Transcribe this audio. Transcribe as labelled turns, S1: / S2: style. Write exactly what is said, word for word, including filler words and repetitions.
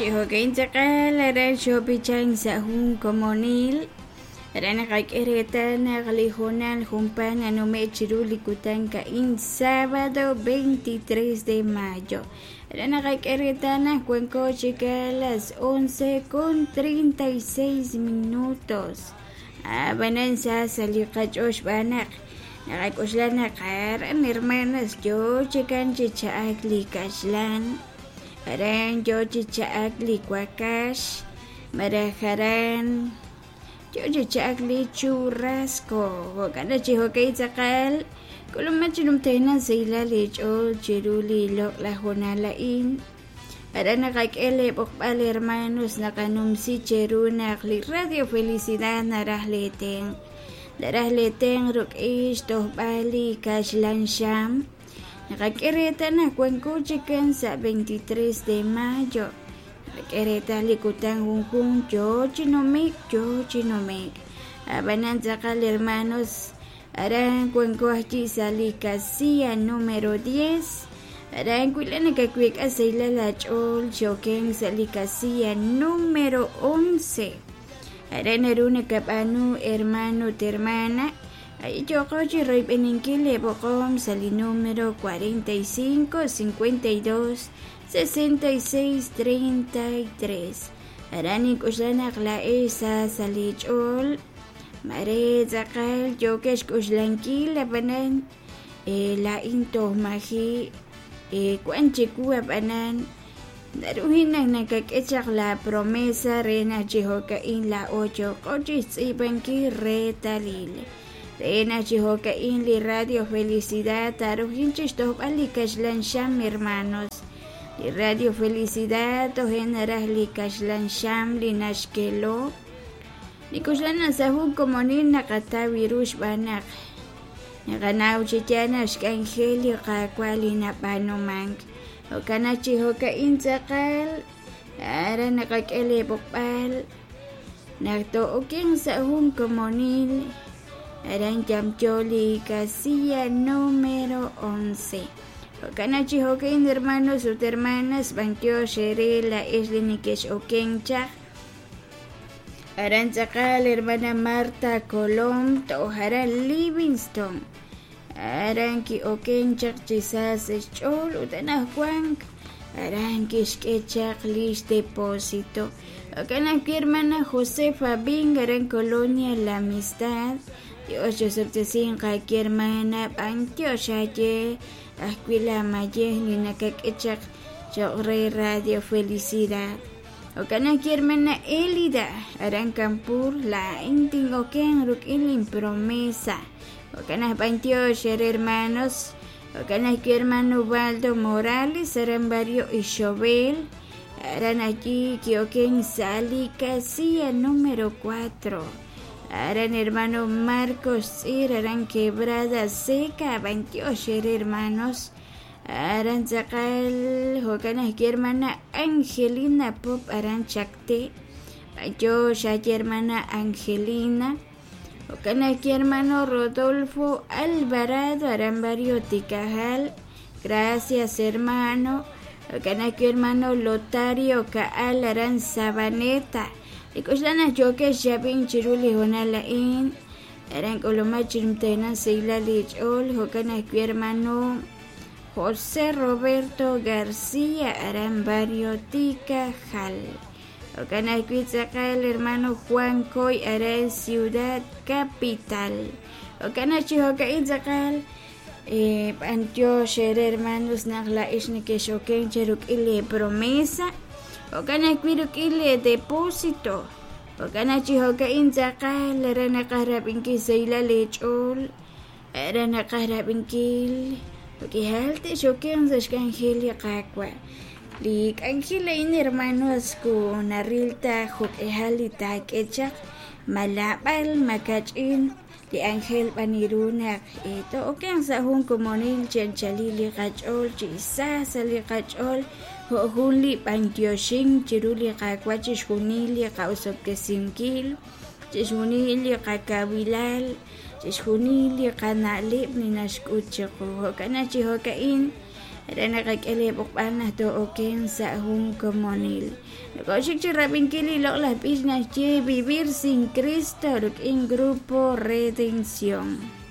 S1: Chi jo'kan tz'aqal aran xoob'ichan sa' jun komonil re naqak'e reetal naq li hoonal junpaat nanume' chiru li kutan ka'in sábado veintitrés de mayo re naqak'e reetal naq wanko chik a las once con treinta y seis minutos ab'anan sa sa' li qach'ool xb'aan naq naqak'oxla naq aran hermanas yoo chikan chi cha'ak li kaxlan aran yoo chi cha'ak li wakax malaj aran yoo chi cha'ak li churrasco jo'kan chi jo'kan tz'aqal k'ulumaj chi numtajenaq sahilal li ch'ool chiru li loq'laj hoonal a'in aran naqak'e li b'oqb'al hermanos naqanumsi cheru naq li Radio Felicidad naraj li tenq' naraj li tenq' ruk'in xtojb'al li kaxlan xam naqak'e reetal naq wanko chikan sa' veintitrés de mayo naqak'e reetal li kutan junjun yoo chi numik yoo chi numik ab'anan tz'aqal hermanos aran wanko ajwi' sa' li casilla número diez aran wila nakawik'a sahilal ach'ool xoken sa' li casilla número once aran naru nakab'aanu hermano ut hermana ahí yooqo chi royb'eninkil li b'oqom sa' li número cuarenta y cinco cincuenta y dos sesenta y seis treinta y tres aran nink'oxla naq laa'ex sa sa' li ch'ool mare tz'aqal yookex k'oxlankil ab'anan laa'in toj maji' wan chiwu ab'anan naru naq nakak'e chaq la promesa re naq chi jo'ka'in laa'o yooqo chi xtz'iib'ankil reetalil re naq chi jo'ka'in li Radio Felicidad tarujin chi xtojb'al li kaxlan xam hermanos li Radio Felicidad toje naraj li kaxlan xam li naxkelo nik'oxla naq sa' jun komonil naqataw ru xb'aan naq naqanaw chi yaal naq xk'anjel li Qaawa' li nab'aanumank jo'kan naq chi jo'ka'in tz'aqal aran naqak'e li b'oqb'al naq to'oken sa' jun komonil aran yamyo li casilla número once jo'kan naq chi jo'ka'in hermanos ut hermanas b'antiox eere laa'ex li nekex'oken chaq aran tz'aqal hermana Marta Colom toj aran Livingston aran ki'oken chaq chi sa sa' xch'ool ut anaqwan aran kixk'e chaq lix depósito jo'kan ajwi' hermana Josefa Bing aran Colonia La Amistad Dios yosob'tesinq aki hermana b'antiox aye ajwi' la mayej li nakak'e chaq cho'q re Radio Felicidad jo'kan ajwi' hermana Elida aran Campur laa'in tin'oken ruk'in lin promesa jo'kan aj b'antiox ere hermanos jo'kan ajwi' hermano Ubaldo Morales aran barrio Ixobel aran allí ki'oken sa' li casilla número cuatro aran hermano Marcos Tz'ir aran Quebrada Seca b'antiox ere hermanos aran tz'aqal jo'kan ajwi' hermana Angelina Pop aran Chacté b'antiox aye hermana Angelina jo'kan ajwi' hermano Rodolfo Alvarado aran barrio Tikajal gracias hermano jo'kan ajwi' hermano Lotario Kaal aran Sabaneta ik'oxla naq yookex xyab'in chiru li hoonal a'in aran k'ulumaj chirumtajenaq sahilal li ch'ool jo'kan ajwi' hermano José Roberto García aran barrio Tikajal jo'kan ajwi' tz'aqal hermano Juan Coy aran Ciudad Capital jo'kan aj chi jo'ka'in tz'aqal b'antiox ere hermanos naq la'ex nekex'oken che ruk'in li promesa jo'kan ajwi' ruk'in li depósito jo'kan aj chi jo'ka'in tz'aqal aran naqaj rab'inkil sahilal li ch'ool aran naqaj rab'inkil jo'k'ihal te'xoken sa' xk'anjel li Qaawa' li k'anjel a'in hermanos ku naril ta jo'k'ihal li taak'e chaq malab'al makach'in li ángel b'aniru naq to'oken sa' jun komonil chi anchalil li qach'ool chi sa sa' li qach'ool jo' jun li b'antioxin chiru li Qaawa' chixjunil li qa'usob'tesinkil chixjunil li qakawilal chixjunil li qana'leb' li naxk'ut chiqu jo'kan naq chi jo'ka'in Re naqak'e lee b'oqb'al naq too'okenq sa' jun komonil. Nokoxik chi rab'inkil li loq'laj b'ich naxye Vivir sin Cristo rik'in Grupo Redención.